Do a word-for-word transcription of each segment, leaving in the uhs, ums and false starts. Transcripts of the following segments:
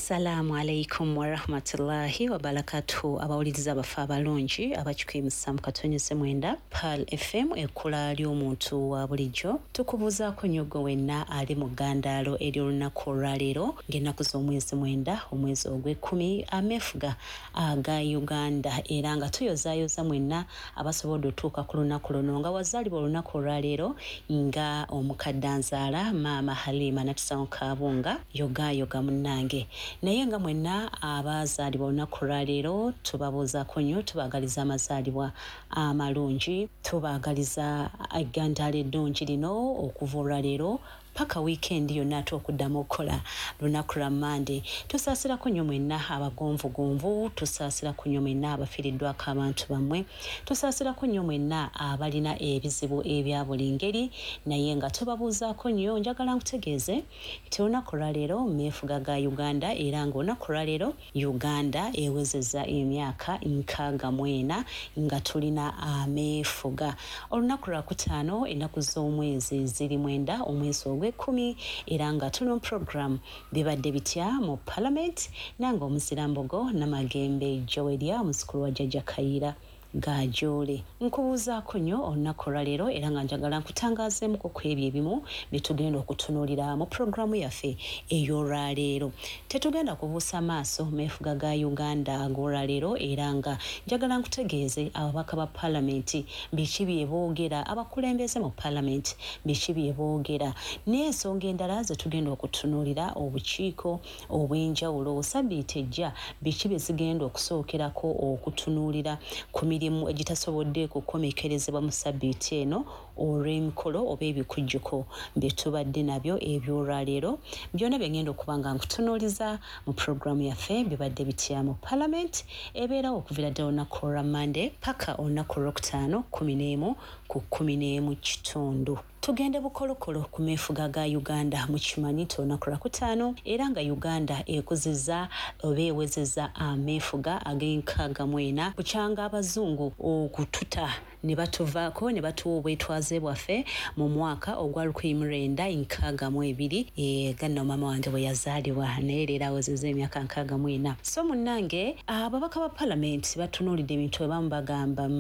Assalamu alaikum warahmatullahi wabarakatuh. Abawuliriza abafa abalungi abakikwimusa mu katonyeze mwenda Pearl F M, ekkula ly'omuntu wa bulijjo. Tukubuuzaako nnyo gwe wenna ali mu ggandaalo ery'olunaku olwaleero ng'ennaku z'omwezi mwenda omwezi ogw'ekkumi ameefuga aga Uganda, era nga tuyozaayoza mwenna abasobodde otuuka ku lunaku luno nga wazaalibwa olunaku olwaleero nga omukadde anzaala Maama Halima Natusawo Kabunga yogaayoga munnange. Naye nga mwenna abazaalibwa olunaku olwaleero tubabuuzaako nnyo, tubaagaliza amazaalibwa amalungi, tubaagaliza eggandaalo eddungi lino okuva olwaleero paka weekend yonna ate okuddamu okukola lunaku lwa Mmande. Tusaasirako nnyo mwenna abagonvugonvu, tusaasirako nnyo mwenna abafiiriddwako abantu bammwe, tusaasirako nnyo mwenna abalina ebizibu ebya buli ngeri, naye nga tubabuuzaako nnyo. Njagala nkutegeeze nti olunaku olwaleero meefuga ga Uganda, era ng'olunaku olwaleero Uganda ewezezza emyaka nkaaga mu ena nga tulina ameefuga. Olunaku lwakutaano ennaku z'omwezi ziri mwenda omwezi ogw'ekkumi, era nga tuli mu program bibadde bitya mu Parliament, nange omuzirambogo Namagembe Joweria omuzukulu wa Jjajja Kayiira Gajoole. Nkubuuzaako nnyo olunaku olwaleero, era nga njagala nkutangaazeemuko ku ebyo ebimu bye tugenda okutunuulira mu puroguramu yaffe ey'olwaleero. Tetugenda kubuusa maaso meefuga ga Uganda ag'olwaleero, era nga njagala nkutegeeze ababaka ba Paalamenti biki bye boogera, abakulembeze mu Paalamenti biki bye boogera, n'ensonga endala ze tugenda okutunuulira obukiiko obw'enjawulo sabbiiti ejja biki bye zigenda okusookerako okutunuulira ku mirimu egitasobodde kukomekerezebwa mu sabbiiti eno olw'emikolo oba ebikujjuko bye tubadde nabyo eby'olwaleero. Byonna bye ngenda okuba nga nkutunuuliza mu puroguramu yaffe bibadde bitya mu Parliament, ebeerawo okuviira ddala olunaku olwa Mmande paka olunaku olwokutaano kkumi n'emu ku kkumi n'emu kitundu. Tugende bukolokolo ku meefuga ga Uganda. Mukimanyi nti olunaku lwakutaano era nga Uganda ekuzizza oba ewezezza ameefuga ag'enkaaga mu ena bukyanga abazungu okututa ne batuvaako ne batuwa obwetwaze bwaffe mu mwaka ogwa lukumi mu lwenda nkaaga mu ebiri, ganno maama wange bwe yazaalibwa, naye leero awezezza emyaka nkaaga mu ena. So munnange ababaka ba Paalamenti batunuulidde ebintu ebamu bagamba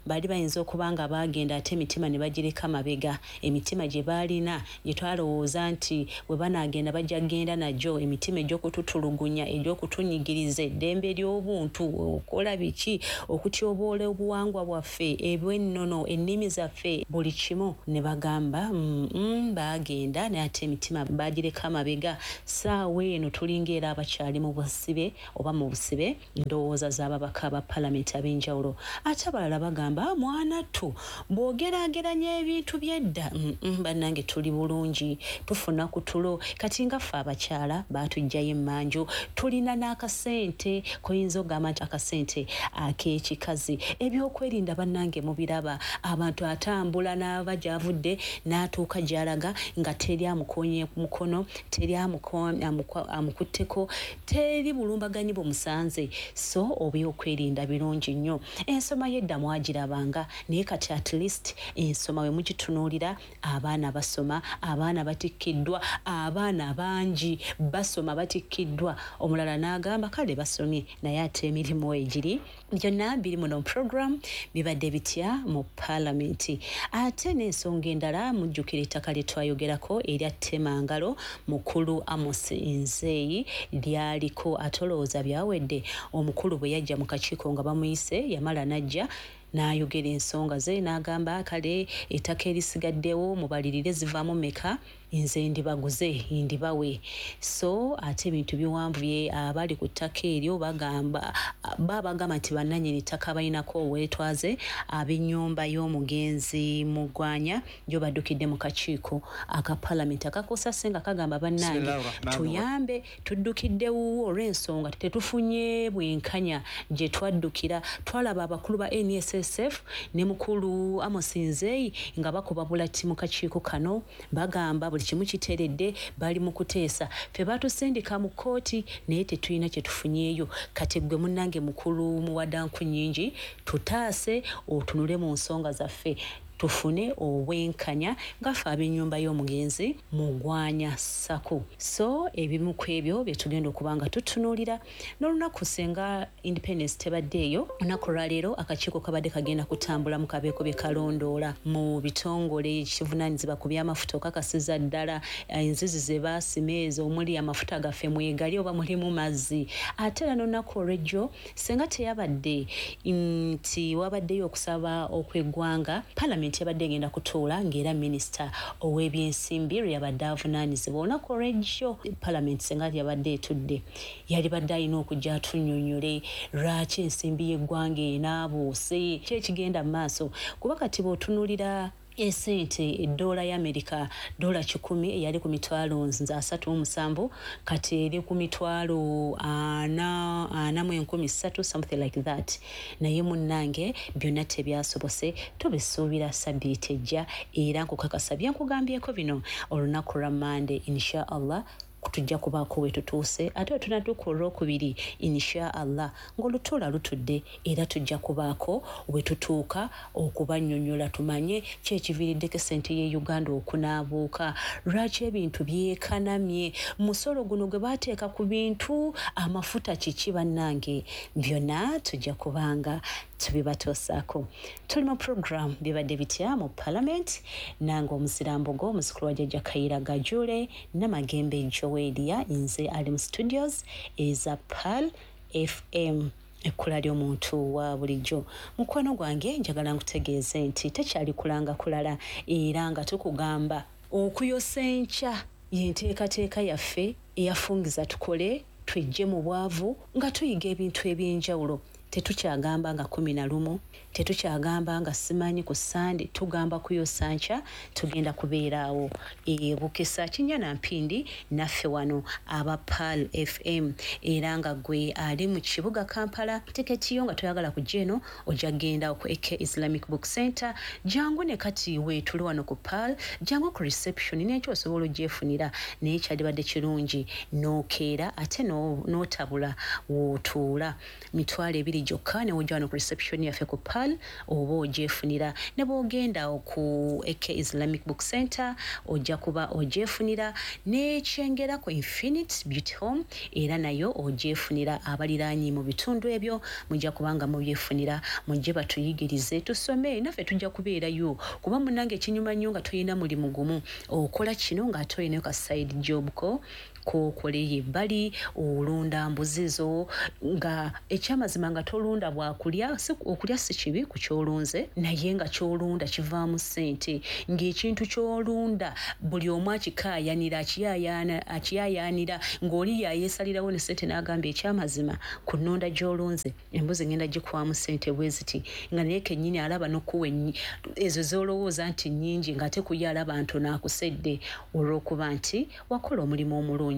bali bayinza okuba nga baagenda ate emitima ne bagireka mabega, emitima gye baalina gye twalowooza nti bwe banaagenda bajja kugenda nagyo, emitima egy'okututulugunya, egy'okutunyigiriza eddembe ly'obuntu, okola biki, okutyoboola obuwangwa bwaffe, ebwennono, ennimi zaffe, buli kimu. Ne bagamba mm, baagenda naye ate emitima bagireka mabega. Ssaawa eno tulinga era abakyali mu busibe oba mu busibe, ndowooza z'ababaka ba Paalamenti ab'enjawulo. Ate abalala bagamba mwana ttu bw'ogeraageranya ebintu by'edda, bannange tuli bulungi, tufuna ku tulo. Kati nga ffe abakyala baatuggyayo emmanju, tulina n'akasente koyinza okugamba nti akasente ak'ekikazi. Ebyokwerinda bannange mubiraba, abantu atambula n'ava gy'avudde n'atuuka gy'alaga nga teri amukoonye ku mukono, teri amukutteko, teri bulumbaganyi bumusanze. So ebyokwerinda birungi nnyo. Ensoma y'edda mwagirabanga, naye kati at least ensoma we mugitunuulira, abaana basoma, abaana batikkiddwa, abaana bangi basoma batikkiddwa. Omulala n'agamba kale basomye naye ate emirimu egiri. Byonna biri muno program bibadde bitya mu Paalamenti. Ate n'ensonga endala, mujjukira ettaka lye twayogerako erya Temangalo mukulu Amos Nzeyi lyaliko, atolowooza byawedde. Omukulu bwe yajja mu kakiiko nga bamuyise, yamala n'ajja n'ayogera ensonga ze n'agamba kale ettaka erisigaddewo mubalirire zivaamu mmeka, nze ndibaguze ndibawe. So ate ebintu biwanvuye, abali ku ttaka eryo bagamba babagamba nti bannannyini ttaka balinako obwetwaze ab'ennyumba y'omugenzi Mugwanya gyo baddukidde mu kakiiko aka Paalamenti akakosa nga kagamba bannange tuyambe, tuddukidde wuwo olw'ensonga tetufunye bwenkanya gye twaddukira. Twalaba abakulu ba N S S F ne mukulu Amos Nzeyi nga bakuba bulati mu kakiiko kano, bagamba buli kimu kiteredde, bali mu kuteesa, ffe batusindika mu kkooti naye tetulina kye tufunyeeyo. Kati gwe munnange mukulu Muwadanku nnyingi, tutaase otunule mu nsonga zaffe. tufune obwenkanya nga ffe ab'ennyumba y'omugenzi Mugwanya Ssaku. So ebimu ku ebyo bye tugenda okuba nga tutunuulira. N'olunaku senga Independence tebaddeeyo, olunaku olwaleero akakiiko kabadde kagenda kutambula mu kabeeko bye kalondoola mu bitongole ekivunaanyizibwa ku by'amafuta okakasiza ddala enzizi ze baasima ezo omuli amafuta gaffe mwegali oba mulimu mazzi. Ate era n'olunaku olw'ejjo senga teyabadde nti wabaddeyo okusaba okw'eggwanga, palamenti yabadde egenda kutuula ng'era minisita ow'ebyensimbi lwe yabadde avunaanyizibwa. Olunaku olw'ejjo palamenti senga yabadde etudde, yalibadde alina okujja atunnyonnyole lwaki ensimbi y'eggwanga enaabuuse, ki ekigenda mu maaso. Kuba kati bw'otunuulira esente eddoola ya Amerika ddoola kikumi eyali ku mitwalo nze asatu mu musanvu kati eri ku mitwalo ana ana mu enkumi ssatu, something like that. Naye munnange byonna tebyasobose, tubisuubira sabbiiti ejja. Era nkukakasa bye nkugambyeko bino olunaku lwa Mande insha Allah tujja kubaako we tutuuse, ate wetunatuuka olwokubiri insha Allah ng'olutuula lutudde era tujja kubaako we tutuuka okubannyonnyola tumanye ki ekiviiriddeko essente ye Uganda okunaabuuka, lwaki ebintu byekanamye, musolo guno gwe baateeka ku bintu, amafuta kiki. Bannange byonna tujja kubanga tubibatuusaako. Tuli mu program bibadde bitya mu parliament, nange omuzirambogo omuzukulu wa Jjajja Kayira Gajule Namagembe Joweria, nze ali mu studios eza Pearl F M ekkula ly'omuntu wa bulijjo. Mukwano gwange njagala nkutegeeze nti tekyali kulanga kulala, era nga tukugamba okuyosa enkya y'enteekateeka yaffe eyafungiza tukole twejje mu bwavu nga tuyiga ebintu eby'enjawulo. Tetukyagamba nga kumi na lumu, tetukyagamba nga simanyi ku Sande, tugamba kuyosa nkya tugenda kubeeraawo e Bukesa Kinnya na Mpindi naffe wano aba Pearl F M. Era nga gwe ali mu kibuga Kampala, tiketi yo nga toyagala kujja eno ojja kugenda ku A K Islamic Book Center, jangu ne kati weetuli wano ku Pearl, jangu ku reception n'ekyo osobola ogyefunira, naye kyalibadde kirungi n'okeera ate n'otabula w'otuula. Mitwalo ebiri gyokka ne wojja wano ku reception yaffe ku Pearl oba ogyefunira, ne bw'ogenda ku A K Islamic Book Center ojja kuba ogyefunira, n'ekyengera ku Infinite Beauty Home era nayo ogyefunira. Abaliraanyi mu bitundu ebyo mujja kubanga mubyefunira, mujje batuyigirize tusome, naffe tujja kubeerayo. Kuba munnange ekinyuma nnyo nga tulina mulimu gumu, okola kino ng'ate olinayo ka side job ko k'okoleyo ebbali, olunda mbuzi zo nga ekyamazima nga tolunda bwakulya, okulya si kibi ku ky'olunze, naye nga ky'olunda kivaamu ssente, ng'ekintu ky'olunda buli omu akikaayanira akiyaayaanira, ng'oli yayeesalirawo ne ssente n'agamba ekyamazima ku nnonda gy'olunze embuzi ngenda gikuwamu ssente bwe ziti, nga naye kennyini alaba n'okuwa ezo z'olowooza nti nnyingi ng'ate ku ye alaba ntono akusedde olw'okuba nti wakola omulimu omulungi,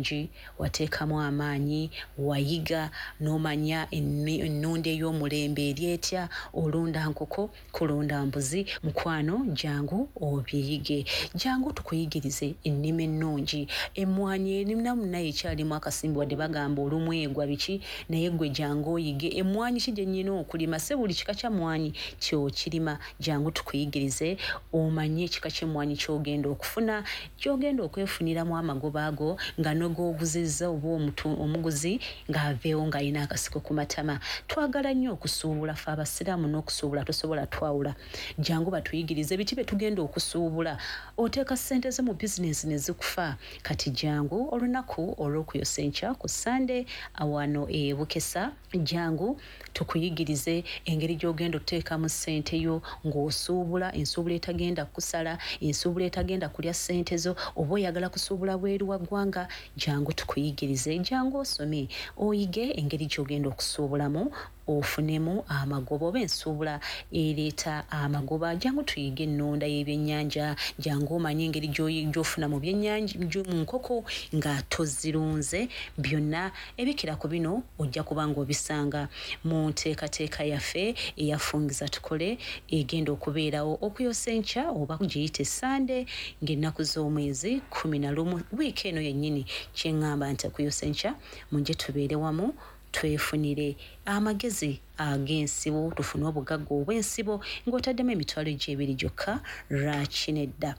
wateekamu amaanyi, wayiga n'omanya ennunda ey'omulembe eri etya, olunda nkoko, kulunda mbuzi. Mukwano jangu obiyige, jangu tukuyigirize ennima ennungi. Emmwanyi erinamu naye ekyalimu akasimbi wadde bagamba olumu egwa biki, naye gwe jangu oyige emmwanyi ki gye nnyina okulima, si buli kika kya mmwanyi ky'okirima. Jangu tukuyigirize omanye ekika ky'emmwanyi ky'ogenda okufuna, ky'ogenda okwefuniramu amagoba ago nga n'ogwoguzizza oba omuguzi ng'aveewo ng'alina akasiko ku matama. Twagala nnyo okusuubula ffe abasiraamu n'okusuubula tosobola twawula. Jangu batuyigirize biki bye tugenda okusuubula, oteeka ssente zo mu bizinensi ne zikufa. Kati jangu olunaku olw'okuyosa enkya ku Sande awano e Bukesa, jangu tukuyigirize engeri gy'ogenda oteekamu ssente yo ng'osuubula, ensuubula etagenda kusala, ensuubula etagenda kulya ssente zo, oba oyagala kusuubula bweru wa ggwanga, jangu tukuyigirize, jangu osome oyige engeri gy'ogenda okusuubulamu ofunemu amagoba oba ensuubula ereeta amagoba. Jangu tuyige ennonda y'ebyennyanja, jangu omanye engeri gy'ofuna mu byennyanja mu nkoko nga tozirunze. Byonna ebikira ku bino ojja kuba ng'obisanga mu nteekateeka yaffe eyafungiza tukole egenda okubeerawo okuyosa enkya oba giyite Sande ng'ennaku z'omwezi kumi na lumu wiiki eno yennyini. Kye ŋŋamba nti okuyosa enkya mujje tubeere wamu twefunire amagezi ag'ensibo, tufune obugagga obw'ensibo ng'otaddemu emitwalo gy'ebiri gyokka. Lwaki nedda?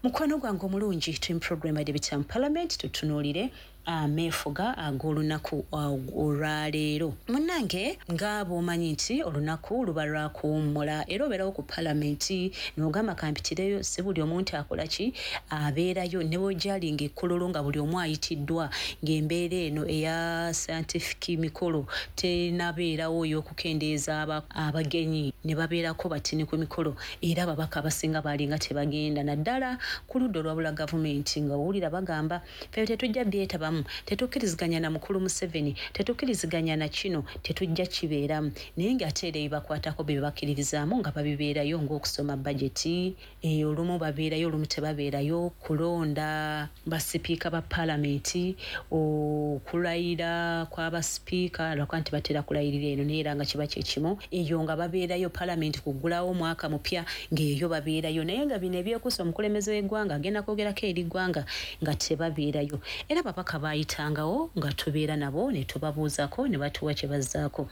Mukwano gwange omulungi, tuli mu program ya Debate mu Parliament, tutunuulire ameefuga ag'olunaku olwaleero. Munnange, nga bw'omanyi nti olunaku luba lwakuwummula era obeerawo ku palamenti n'ogamba kampitireyo, si buli omu nti akola ki abeerayo, ne bw'ojalinga ekkololo nga buli omu ayitiddwa, ng'embeera eno eya scientific mikolo tenabeerawo ey'okukendeeza abagenyi ne babeerako batini ku mikolo, era ababaka abasinga baalinga tebagenda, naddala ku ludda olwabula gavumenti nga owulira bagamba ffe tetujja byetabamu, tetukkiriziganya na mukulu Museveni, tetukkiriziganya na kino, tetujja kibeeramu. Naye ng'ate era ebibakwatako bye bakkiririzaamu nga babibeerayo, ng'okusoma bajeti, olumu babeerayo olumu tebabeerayo, kulonda basipiika ba paalamenti, okulayira kw'abasipiika, lwakuba nti batera kulayirira eno naye era nga kiba kye kimu, eyo nga babeerayo, paalamenti kuggulawo omwaka mupya ng'eyo babeerayo. Naye nga bino ebyekuusa omukulembeze w'eggwanga agenda kwogerako eri ggwanga nga tebabeerayo. Era ababaka baayitangawo nga tubeera nabo ne tubabuuzako ne batuwa kye bazzaako.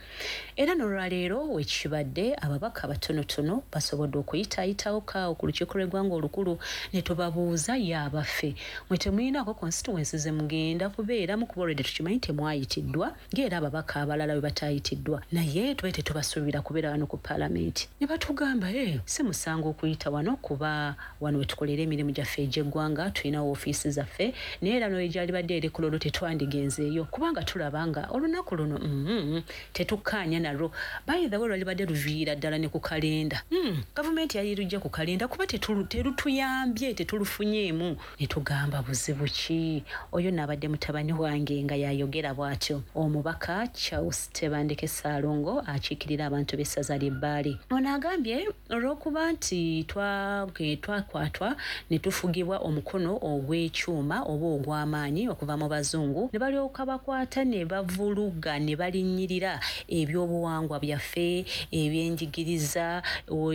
Era n'olwaleero wekibadde ababaka batonotono basobodde okuyitaayitawo kaawo ku lukiiko lw'eggwanga olukulu ne tubabuuza, ye abaffe mwe temuyinaako constituency ze mugenda kubeeramu? Kuba already tukimanyi temwayitiddwa, ng'era ababaka abalala bwe bataayitiddwa, naye tube tetubasuubira kubeera wano ku paalamenti. Ne batugamba e si musango okuyita wano, kuba wano we tukolera emirimu gyaffe egy'eggwanga, tulina woofiisi zaffe, naye era n'ogyalibadde eri kololo tetwandigenzeeyo kubanga tulaba nga olunaku luno mm, tetukkaanya nalwo. By the way, lwalibadde luviira ddala ne ku kalenda. mm, gavumenti yali lujja ku kalenda kuba terutuyambye, tetulufunyeemu. Ne tugamba buzibu ki? Oyo naabadde mutabani wange nga yayogera bw'atyo, omubaka Charles Tebandeke Ssaalongo akiikirira abantu b'essaza ly'Ebbaale. Ono agambye olw'okuba nti twakwatwa ne tufugibwa omukono ogw'ekyuma oba ogw'amaanyi okuva mu bazungu, ne balyoka bakwata ne bavuluga ne balinnyirira ebyobuwangwa byaffe, ebyenjigiriza,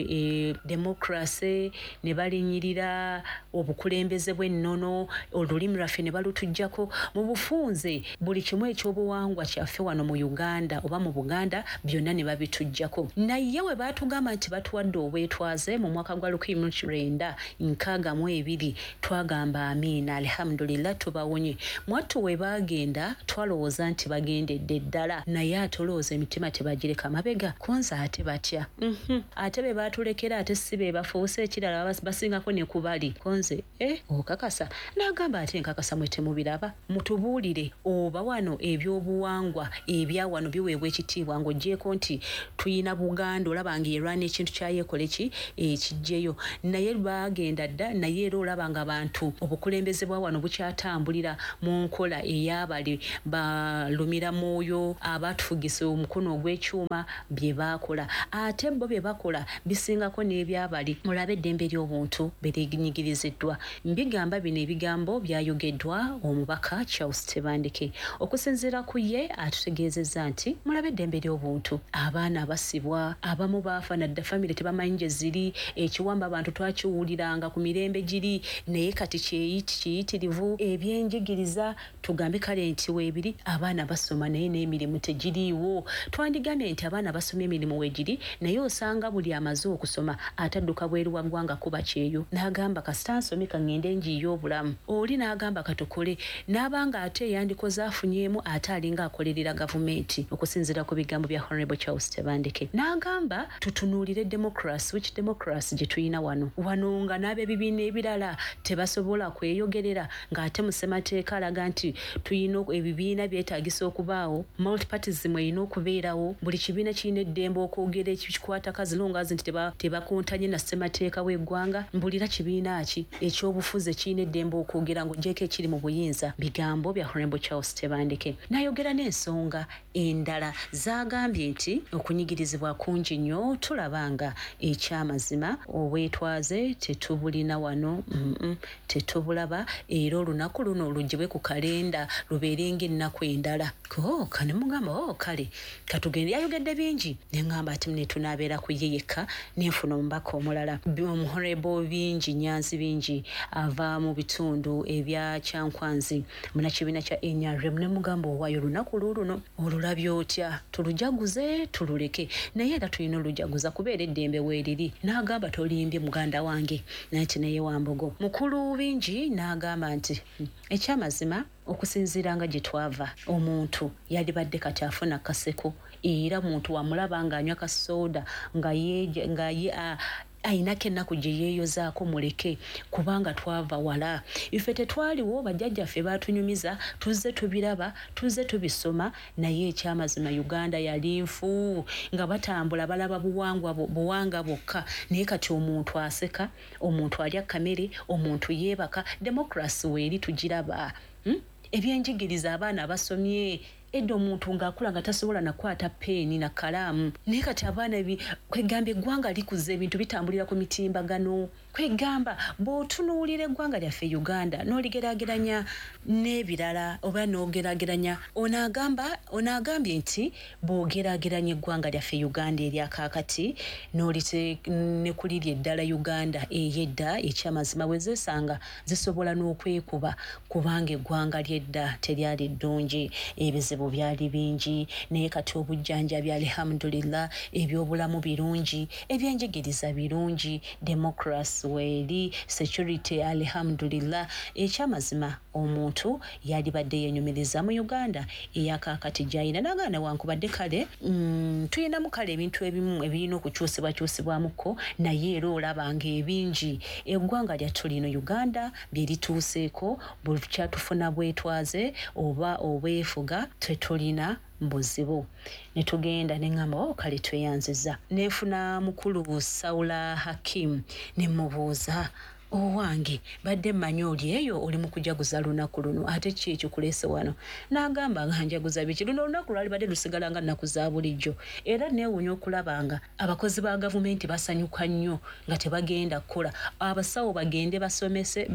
e, democracy, ne balinnyirira obukulembeze bw'ennono, olulimi lwaffe ne balutuggyako. Mu bufunze buli kimu ekyobuwangwa kyaffe wano mu Uganda oba mu Buganda byonna ne babituggyako. Naye we baatugamba nti batuwadde obwetwaze mu mwaka gwa lukumi mu lwenda nkaaga mu ebiri, twagamba amiina, alhamdulillah, tubawonye. Mwattu we baagenda twalowooza nti bagendedde ddala, naye ate olowooza emitima tebagireka mabega konza ate batya? mm-hmm. Ate be baatulekera ate si be bafuuse ekirala, basingako ne kubali konze. Eh, okakasa? N'agamba ate nkakasa, mwe temubiraba? Mutubuulire oba wano ebyobuwangwa ebya wano biweebwa ekitiibwa, ng'oggyeeko nti tuyina Buganda, olaba ng'erwana ekintu kyayeekole ki ekijjeyo, naye baagenda dda. Naye era olaba nga abantu obukulembeze bwa wano bukyatambulira mu nkola ey'abali balumira mwoyo abatufugisa omukono ogw'ekyuma bye baakola, ate bo bye bakola bisingako n'ebyabali. Mulabe eddembe ly'obuntu berinyigiriziddwa. Mbigamba bino ebigambo byayogeddwa omubaka Charles Tebandeke. Okusinziira ku ye atutegeezezza nti mulabe eddembe ly'obuntu, abaana basibwa, abamu baafa nadda famire tebamanyi gye ziri, ekiwamba abantu twakiwuliranga ku mirembe giri, naye kati kiyitirivu. Ebyenjigiriza tugambe kale nti weebiri, abaana basoma naye n'emirimu tegiriiwo. Twandigambye nti abaana basoma emirimu weegiri, naye osanga buli amaze okusoma atadduka bweru wa ggwanga kuba kyeyo, n'agamba kasita nsome ka ŋŋende njiiye obulamu. Oli n'agamba katukole, n'abanga ate eyandikoze afunyeemu ate alinga akolerera gavumenti, okusinziira ku bigambo bya Honorable Charles Tebandeke. N'agamba tutunuulire democracy, which democracy gye tulina wano wano nga n'ab'ebibiina ebirala tebasobola kweyogerera, ng'ate mu ssemateeka alaga nti tuyina ebibiina byetaagisa okubaawo, multipartism erina okubeerawo, buli kibiina kirina eddembe okwogera ekikwatako as long as nti tebakontanye na ssemateeka w'eggwanga. Mbulira kibiina ki ekyobufuzi ekirina eddembe okwogera ng'oggyeeko ekiri mu buyinza? Bigambo bya Honorable Charles Tebandeke. N'ayogera n'ensonga endala z'agambye nti okunyigirizibwa kungi nnyo, tulaba nga ekyamazima obwetwaze tetubulina wano, mm -mm, tetubulaba, era olunaku luno luggyibwe ku kalenda lubeere ng'ennaku endala. Ko kane mugamba o kale katugende, yayogedde bingi, ne ŋŋamba ati ne tunaabeera ku ye yekka, nenfuna omubaka omulala, Honorable Bingi Nyanzi Bingi ava mu bitundu ebya Kyankwanzi, munnakibiina kya N R M, ne mugamba owaayo olunaku luuluno olulabye otya, tulujaguze? tulujaguze tululeke, naye era tulina olujaguza kubeera eddembe weeriri. N'agamba tolimbye muganda wange, nati naye Wambogo. Mukulu Bingi n'agamba nti ekyamazima okusinziira nga gye twava, omuntu yalibadde kati afuna kaseko, era muntu wamulaba ng'anywa kasooda nga ye nga ye ayinako ennaku gye yeeyozaako, muleke, kubanga twava wala. Ife tetwaliwo, bajjajjaffe baatunyumiza, tuzze tubiraba, tuzze tubisoma, naye ekyamazima Uganda yali nfu, nga batambula balaba buwangwa buwanga bwokka. Naye kati omuntu aseka, omuntu alya kamere, omuntu yeebaka, democracy weeri tugiraba. Hmm? Ebyenjigiriza abaana basomye edda, omuntu ng'akula nga tasobola nakwata peeni na kalaamu, naye kati abaana kwegamba eggwanga likuze, ebintu bitambulira ku mitimbagano. Kwegamba bw'otunuulira eggwanga lyaffe Uganda n'oligeraageranya n'ebirala oba n'ogeraageranya, ono agamba ono agambye nti bw'ogeraageranya eggwanga lyaffe Uganda eryakaakati n'olite ne ku liri eddala Uganda ey'edda, ekyamazima bwe zeesanga zisobola n'okwekuba, kubanga eggwanga ly'edda teryali ddungi, ebizibu byali bingi. Naye kati obujjanjabi alhamdulillah, ebyobulamu birungi, ebyenjigiriza birungi, democracy weeri, security alhamdulillah. Ekyamazima omuntu yalibadde yenyumiriza mu Uganda eyakaakati gy'ayina. N'agaana newankubadde kale mm, tuyinamu kale ebintu ebimu ebirina okukyusibwakyusibwamukko, naye era olaba ng'ebingi eggwanga lyattu lino Uganda bye lituuseeko bwe kyatufuna bwetwaze oba obwefuga, tetulina buzibu. Ne tugenda ne ŋŋamba, oh, kale tweyanziza. Nenfuna mukulu Saula Hakim ne mubuuza, owange badde mmanyi oli eyo oli mu kujaguza lunaku luno, ate ki ekikuleese wano? N'agamba nga njaguza biki, luno olunaku lwalibadde lusigala nga nnaku za bulijjo. Era neewuunya okulaba nga abakozi ba gavumenti basanyuka nnyo nga tebagenda kukola, abasawo bagende basomese,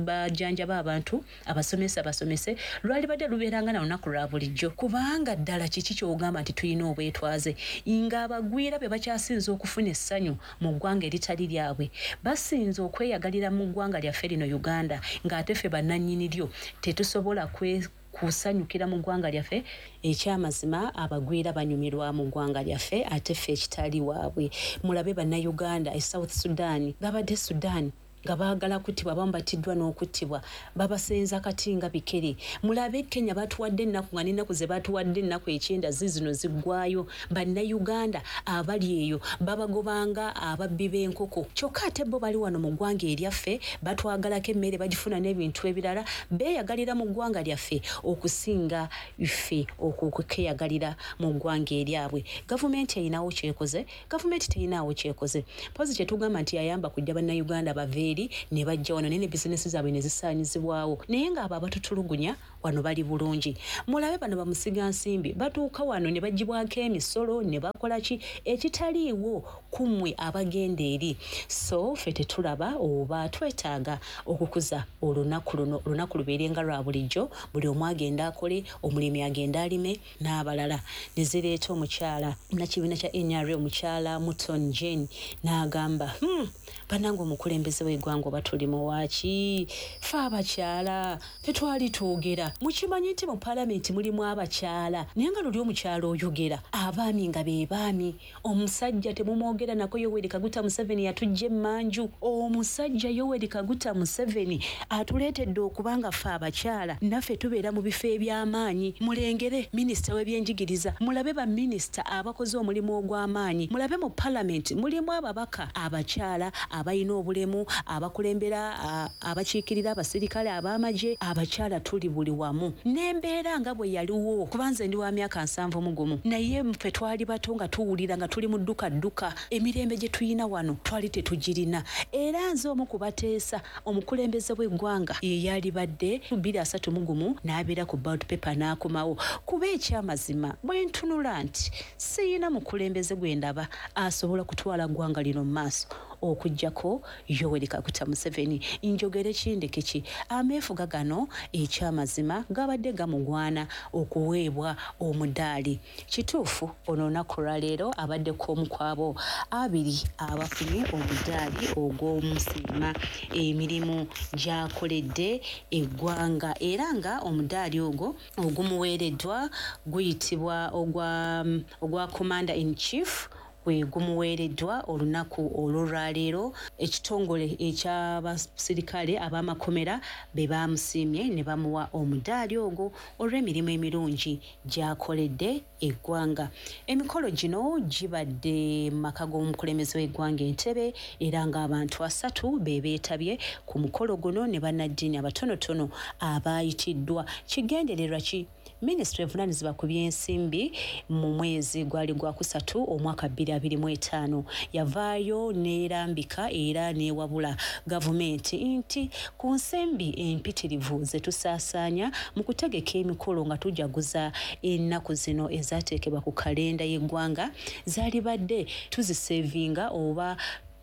bajjanjabe abantu, abasomesa basomese. Lwalibadde lubeera nga na lunaku lwa bulijjo, kubanga ddala kiki ky'ogamba nti tulina obwetwaze ng'abagwira be bakyasinze okufuna essanyu mu ggwanga eritali lyabwe, basinze okweyagalira mu ggwanga lyaffe lino Uganda, ng'ate ffe bannannyini lyo tetusobola kwe kusanyukira mu ggwanga lyaffe. Ekyamazima abagwira banyumirwa mu ggwanga lyaffe, ate ffe ekitali waabwe. Mulabe Bannayuganda e South Sudan, babadde Sudan nga baagala kuttibwa, abamu batiddwa n'okuttibwa, babasenza kati nga bikere. Mulabe Kenya, batuwadde ennaku nga n'ennaku ze batuwadde ennaku ekyenda zizino ziggwayo. Bannayuganda abali eyo babagobanga ababbi b'enkoko, kyokka ate bo bali wano mu ggwanga eryaffe batwagalako emmere bagifuna n'ebintu ebirala, beeyagalira mu ggwanga lyaffe okusinga ffe okweyagalira mu ggwanga eryabwe. Gavumenti erinawo kyekoze? Gavumenti terinaawo kyekoze. Pozi kyetugamba nti yayamba kujja Bannayuganda bave eri ne bajja wano, naye ne bizinesi zaabwe ne zisaanyizibwawo, naye ng'abo abatutulugunya wano bali bulungi. Mulabe bano bamusigansimbi batuuka wano ne bagibwako emisolo ne bakola ki ekitaliiwo kummwe abagenda eri. So ffe tetulaba oba twetaaga okukuza olunaku luno, olunaku lubeere nga lwa bulijjo, buli omu agenda akole, omulimi agenda alime n'abalala. Ne zireeta omukyala nakibiina kya N R A, omukyala Muton Jane, n'agamba, hmm, bannange omukulembeze w'eggwanga oba tuli muwaaki? Fe abakyala tetwali twogera. Mukimanyi nti mu paalamenti mulimu abakyala, naye nga luli omukyala oyogera, abaami nga be baami, omusajja temumwogera nako. Yoweri Kaguta Museveni yatujja emmanju. Omusajja Yoweri Kaguta Museveni atuleetedde okuba nga ffe abakyala naffe tubeera mu bifo eby'amaanyi. Mulengere minisita w'ebyenjigiriza, mulabe baminisita abakoze omulimu ogw'amaanyi, mulabe mu paalamenti mulimu ababaka abakyala abalina obulemu, abakulembera, abakiikirira abasirikale ab'amagye. Abakyala tuli buli wamu. N'embeera nga bwe yaliwo, kuba nze ndi wa myaka nsanvu mu gumu, naye ffe twali bato nga tuwulira nga tuli mu dduka dduka. Emirembe gye tuyina wano twali tetugirina. Era nze omu ku bateesa omukulembeze w'eggwanga ye yalibadde bbiri asatu mu gumu n'abeera ku ballot paper n'akomawo, kuba ekyamazima bwe ntunula nti siyina mukulembeze gwe ndaba asobola kutwala ggwanga lino mu maaso. okuggyako Yoweri Kaguta Museveni. Njogere kindeke ki, ameefuga gano ekyamazima gabadde gamugwana okuweebwa omudaali. Kituufu ono olunaku olwaleero abaddeko omu ku abo abiri abafunye omudaali ogw'omusiima emirimu gy'akoledde eggwanga, era nga omudaali ogwo ogumuweereddwa guyitibwa ogwa, ogwa Commander in Chief, gwe gumuweereddwa olunaku olw'olwaleero. Ekitongole eky'abasirikale ab'amakomera be baamusiimye ne bamuwa omudaali ogwo olw'emirimu emirungi gy'akoledde eggwanga. Emikolo gino gibadde mu maka g'omukulembeze w'eggwanga Entebbe, era ng'abantu asatu be beetabye ku mukolo guno ne bannaddiini abatonotono abaayitiddwa. Kigendererwa ki? Minisitule evunaanyizibwa ku by'ensimbi mu mwezi gwali gwa kusatu omwaka bbiri abiri mu etaano yavaayo n'erambika era n'ewabula gavumenti nti ku nsimbi empitirivu ze tusaasaanya mu kutegeka emikolo nga tujaguza ennaku zino ezaateekebwa ku kalenda y'eggwanga, zaalibadde tuzisevinga oba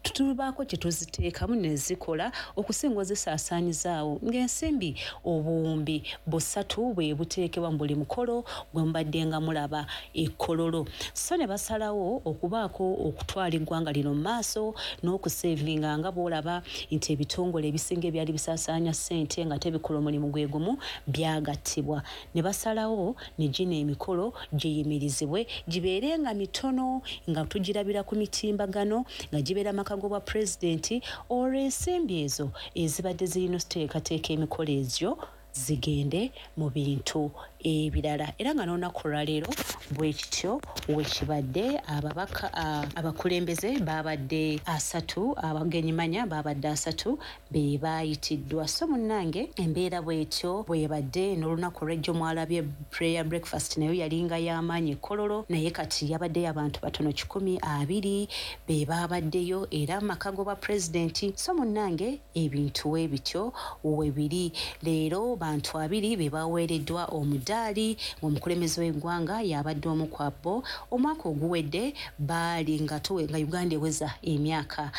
tubaako kye tuziteekamu ne zikola okusinga ozisaasaanyizaawo, ng'ensimbi obuwumbi busatu bwe buteekebwa mu buli mukolo gwe mubadde nga mulaba ekkololo. So ne basalawo okubaako okutwala eggwanga lino mu maaso n'okusevinga, nga bw'olaba nti ebitongole ebisinga ebyali bisaasaanya ssente nga tebikola omulimu gwe gumu byagattibwa. Ne basalawo ne gino emikolo giyimirizibwe gibeere nga mitono, nga tugirabira ku mitimbagano, nga gibeera maka g'obwa pulezidenti, olwo ensimbi ezo ezibadde zirina okuteekateeka emikolo egyo zigende mu bintu ebirala. Era nga n'olunaku olwaleero bwe kityo we kibadde, ababaka abakulembeze baabadde asatu, abagenyi manya baabadde asatu be baayitiddwa. So munnange embeera bw'etyo bw'ebadde. N'olunaku olw'ejjo mwalabye prayer breakfast, nayo yalinga y'amaanyi ekkololo, naye kati yabaddeyo abantu batono kikumi abiri be baabaddeyo, era amaka g'obwa pulezidenti. So munnange ebintu we bityo we biri. Leero bantu abiri be baweereddwa omudaali, ng'omukulembeze w'eggwanga y'abadde omu ku abo. Omwaka oguwedde baali nga nga Uganda eweza emyaka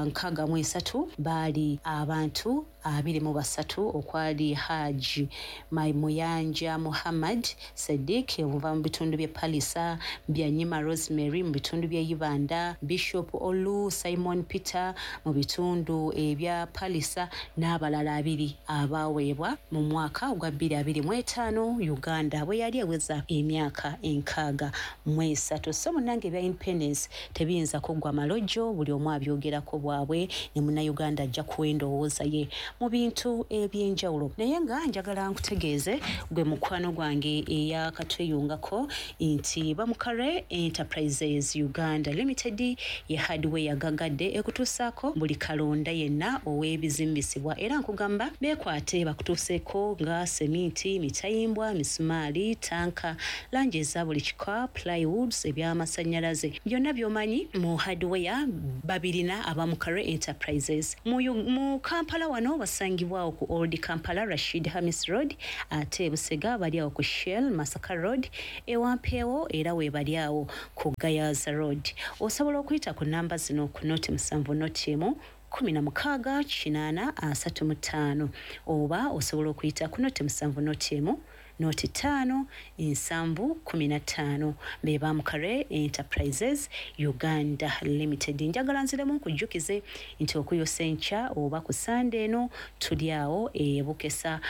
nkaaga mu esatu, baali abantu abiri mu basatu, okwali Haji Muyanja Muhammad Sadiq okuva mu bitundu by'e Palisa, Byanyima Rosemary mu bitundu by'e Ibanda, Bishop Olu Simon Peter mu bitundu ebya Palisa, n'abalala abiri abaaweebwa mu mwaka ogwa bbiri abiri mu etaano Uganda bwe yali eweza emyaka enkaaga mu esatu. So munnange ebya independence tebiyinza kuggwa malojjo, buli omu abyogerako bwabwe, ne munnayuganda ajja kuwa endowooza ye mu bintu ebyenjawulo. Naye nga njagala nkutegeeze gwe mukwano gwange eyakatweyungako nti Bamukare Enterprises Uganda Limited ye hardware yagagadde ekutuusaako buli kalonda yenna ow'ebizimbisibwa, era nkugamba beekwate bakutuuseeko nga seminti, mitayimbwa, misumaali, tanka, langi eza buli kika, plywoods, ebyamasannyalaze, byonna by'omanyi mu hardware babirina Abamukare Enterprises. Mu, mu Kampala wano basangibwawo ku Old Kampala Rashid Hamis Road, ate Busega bali awo ku Shell Masaka Road, Ewampeewo era we bali awo ku Gayaza Road. Osobola okuyita ku namba zino ku noti musanvu noti emu kumi na mukaaga kinaana asatu mu ttaano, oba osobola okuyita ku noti musanvu noti emu noti ttaano nsanvu kumi na ttaano. Be Bamukare Enterprises Uganda Limited. Njagala nziremu nkujjukize nti okuyosa enkya oba ku Sande eno tuli awo e Bukesa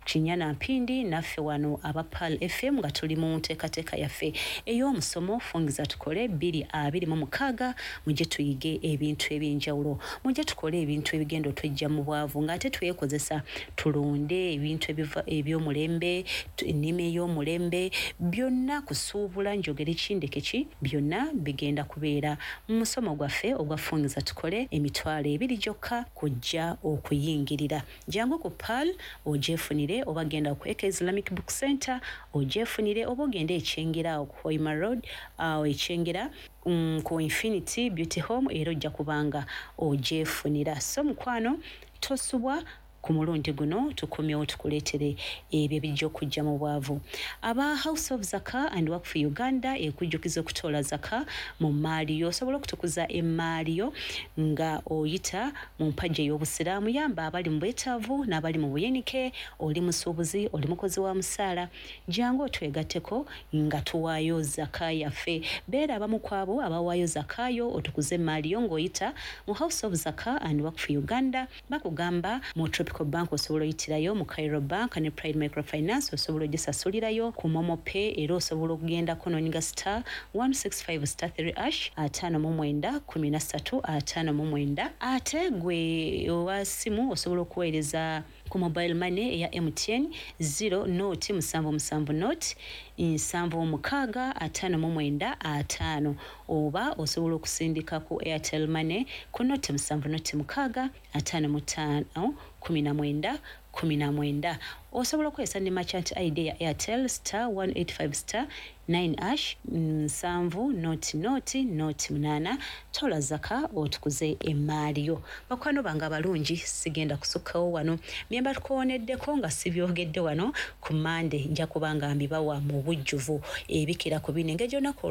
Kinyana Mpindi, naffe wano aba Pearl F M nga tuli mu nteekateeka yaffe ey'omusomo Fungiza Tukole bbiri abiri mu mukaaga. Mujje tuyige ebintu ebyenjawulo, mujje tukole ebintu ebigenda otwejja mu bwavu ng'ate twekozesa, tulonde ebintu eby'omulembe, ennima ey'omulembe, byonna kusuubula, njogere kindeke ki, byonna bigenda kubeera mu musomo gwaffe ogwa Fungiza Tukole, emitwalo ebiri gyokka kujja okuyingirira. Jangu ku Pearl ogyefunire, oba genda ku Eka Islamic Book Center ogyefunire, oba ogende Ekyengera awo ku Hoima Road, awo Ekyengera mm, ku Infinity Beauty Home, era ojja kubanga ogyefunira. So mukwano tosubwa, Ku mulundi guno tukomyewo tukuleetere ebyo ebijja okujja mu bwavu. Aba House of Zaka and Waqf Uganda ekujjukiza okutoola zaka mu mmaali yo. Osobola okutukuza emmaali yo nga oyita mu mpagi ey'obusiraamu. Yamba abali mu bwetaavu n'abali mu buyinike. Oli musuubuzi, oli mukozi wa musaala, jangu otwegatteko nga tuwaayo zaka yaffe. Beera abamu ku abo abawaayo zakayo, otukuze emmaali yo ng'oyita mu House of Zaka and Waqf Uganda. Bakugamba mu Tropical Bank osobola oyitirayo, mu Cairo Bank ne Pride Microfinance osobola ogisasulirayo ku Momo Pay. Era osobola okugendako n'onyiga star one six five star three hash ataano mu mwenda kumi na ssatu ataano mu mwenda. Ate gwe owa simu osobola okuweereza ku mobile money eya M T N zero noti musanvu musanvu noti nsanvu mukaaga ataano mu mwenda ataano, oba osobola okusindika ku Airtel Money ku noti musanvu noti mukaaga ataano mu ttaano kumi na mwenda kumi na mwenda. Osobola okukozesa ne merchant I D ya Airtel star one eight five star nine hash nsanvu noti noti noti munaana. Tola zaka otukuze emmaali yo. Bakwano bange abalungi, sigenda kusukkawo wano. Myemba tukooneddeko nga sibyogedde wano ku Mande, nja kubanga mbibawa mu bujjuvu ebikira ku bino. Engeri gy'olunaku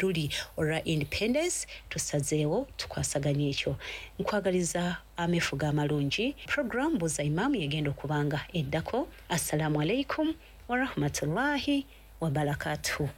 luli olwa Independence, tusazeewo tukwasaganye ekyo. Nkwagaliza ameefuga amalungi. Program Buuza Imaamu yegenda okubanga eddako. Assalamu alaikum warahmatullahi wabarakatuh.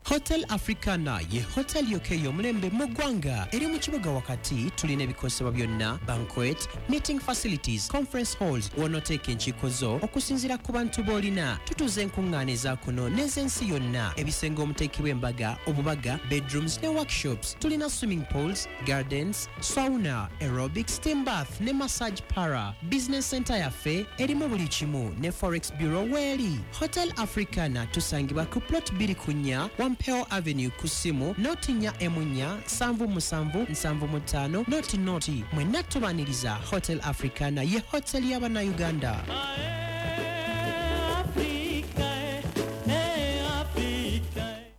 Hotel Africana ye hotel yokka ey'omulembe mu ggwanga. Eri mu kibuga wakati. Tulina ebikozesebwa byonna, banquet, meeting facilities, conference halls, w'onooteeka enkiiko zo okusinziira ku bantu b'olina. Tutuuza enkuŋŋaana eza kuno n'ez'ensi yonna, ebisenge omuteekebwa embaga, obubaga, bedrooms ne workshops. Tulina swimming pools, gardens, sauna, aerobics, steam bath ne massage para. Business center yaffe erimu buli kimu ne forex bureau weeri. Hotel Africana tusangibwa ku plot bbiri ku nnya Wampeo Avenue ku ssimu noti nnya emu nnya nsanvu musanvu nsanvu mu ttaano noti noti. Mwenna tubaaniriza. Hotel Africana ye hotel y'Abannayuganda.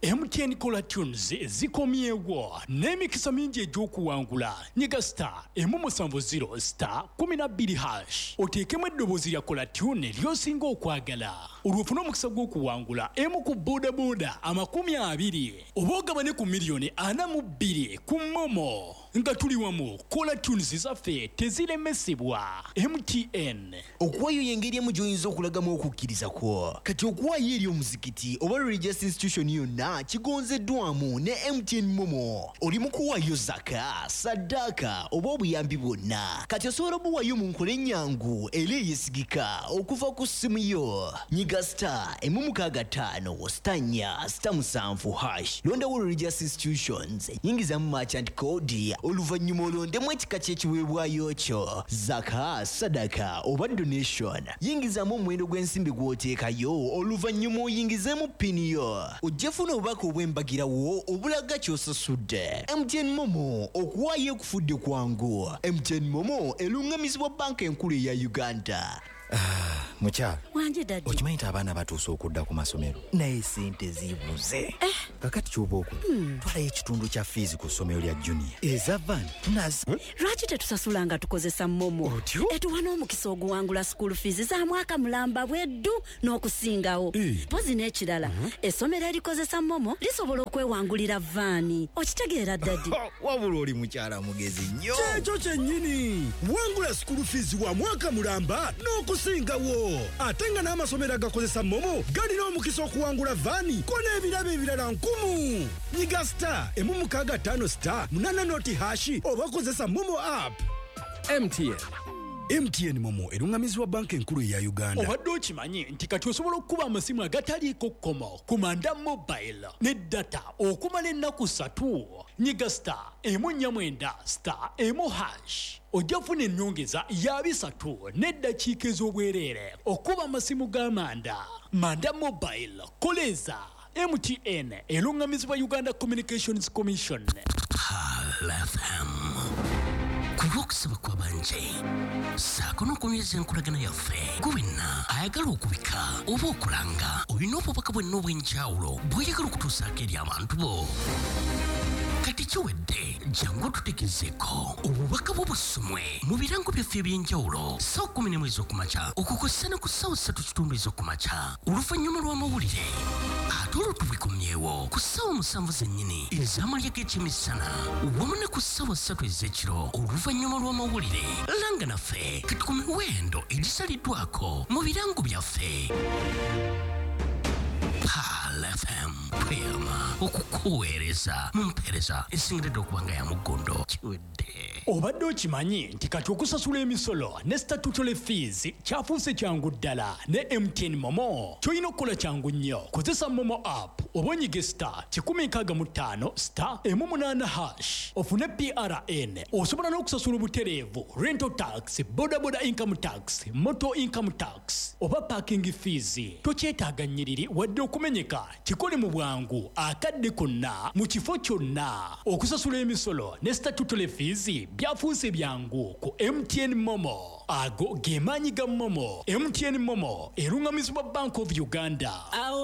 M T N Caller Tunes zikomyewo n'emikisa mingi egy'okuwangula. Nyiga star emu musanvu zero star kumi na bbiri hash oteekemu eddoboozi lya Caller Tune ly'osinga okwagala, olwo ofune omukisa gw'okuwangula emu ku boodabooda amakumi abiri oba ogabane ku miliyoni ana mu bbiri ku Momo. Nga tuli wamu, Caller Tunes zaffe teziremesebwa. M T N. Okuwaayo y'engeri emu gy'oyinza okulagamu okukkiriza kwo. Kati okuwaayo eri omuzikiti oba religious institution yonna kigonzeddwamu ne M T N Momo. Oli mu kuwaayo zaka, saddaaka oba obuyambi bwonna. Kati osobola obuwaayo mu nkola ennyangu era eyeesigika okuva ku ssimu yo. Nyiga star emu mukaaga ttaano star nnya star musanvu hash. Londawo religious institutions, yingizamu merchant code, oluvannyuma olondemu ekika ky'ekiweebwayo kyo, zaka, sadaka oba donation. Yingizamu omuwendo gw'ensimbi gw'oteekayo, oluvannyuma oyingizeemu pini yo. Ojja funa obubaka obw'embagirawo obulaga ky'osasudde. M T N Momo, okuwaayo ekufudde kwangu. M T N Momo eruŋŋamizibwa Banka Enkulu eya Uganda. Ah, mukyala wanje daddy, okimanyi nti abaana batuuse okudda ku masomero naye sente zibuze. Eh. Kakati ky'oba okola, Hmm. twalayo ekitundu kya fiizi ku ssomero lya Junior eza van nazi. Lwaki tetusasula nga tukozesa Momo? Otyo? Etuwa n'omukisa oguwangula school fees za mwaka mulamba bweddu n'okusingawo. Eh. Mpozi n'ekirala, Mhm. essomero erikozesa Momo lisobola okwewangulira vaani. Okitegeera daddy? Wabula oli mukyala mugezi nnyo. Kyekyo kyennyini. Wangula school fees wa mwaka mulamba n'okusingawo. Ate nga n'amasomero agakozesa Momo galina omukisa okuwangula vaani ko n'ebirabo ebirala nkumu. Nyiga star emu mukaaga ttaano star munaana noti hashi oba kozesa Momo app. M T N. M T N Momo eruŋŋamizibwa Banka Enkulu eya Uganda. Obadde okimanyi nti kati osobola okukuba amasimu agataliiko kkomo ku Manda Mobile ne data okumala ennaku ssatu. Nyiga star emu nnya mwenda star emu hash ojja kufuna ennyongeza ya bisatu n'eddakiika ez'obwereere okuba amasimu ga Manda. Manda Mobile, koleza. M T N eruŋŋamizibwa Uganda Communications Commission. Pearl F M. Ku lw'okusaba kw'abanje ssaako n'okunyweza enkolagana yaffe, gwe wenna ayagala okubika oba okulanga olina obubaka bwenna obw'enjawulo bw'oyagala okutuusaako eri abantu bo. Kati kiwedde, jangu otutegezeeko obubaka bwo busomwe mu birango byaffe eby'enjawulo ssaawa kkumi n'emu ez'okumakya okukosa ne ku ssaawa ssatu kitundu ez'okumakya oluvannyuma lw'amawulire, ate olwo tubikomyewo ku ssaawa musanvu zennyini ez'amalya g'ekyemisana wamu ne ku ssaawa ssatu ez'ekiro oluvannyuma lw'amawulire. Langa naffe kati ku miwendo egisaliddwako mu birango byaffe. Pearl F M tweyama okukuweereza mu mpeereza esingiridde okuba nga ya muggondo. Kiwedde. Obadde okimanyi nti kati okusasula emisolo ne statutory fees kyafuuse kyangu ddala ne M T N Momo. Ky'olina okukola kyangu nnyo, kozesa Momo app oba onyige star kikumi nkaaga mu ttaano star emu munaana hash ofune P R N. Osobola n'okusasula obutereevu rental tax, bodaboda income tax, motor income tax oba parking fees. Tokyetaaga nnyiriri wadde okumenyeka, kikole mu bwangu akadde konna mu kifo kyonna. Okusasula emisolo ne statutory fees byafuuse byangu ku M T N Momo. Ago ge maanyi ga Momo. M T N Momo erungamizibwa Bank of Uganda. Awo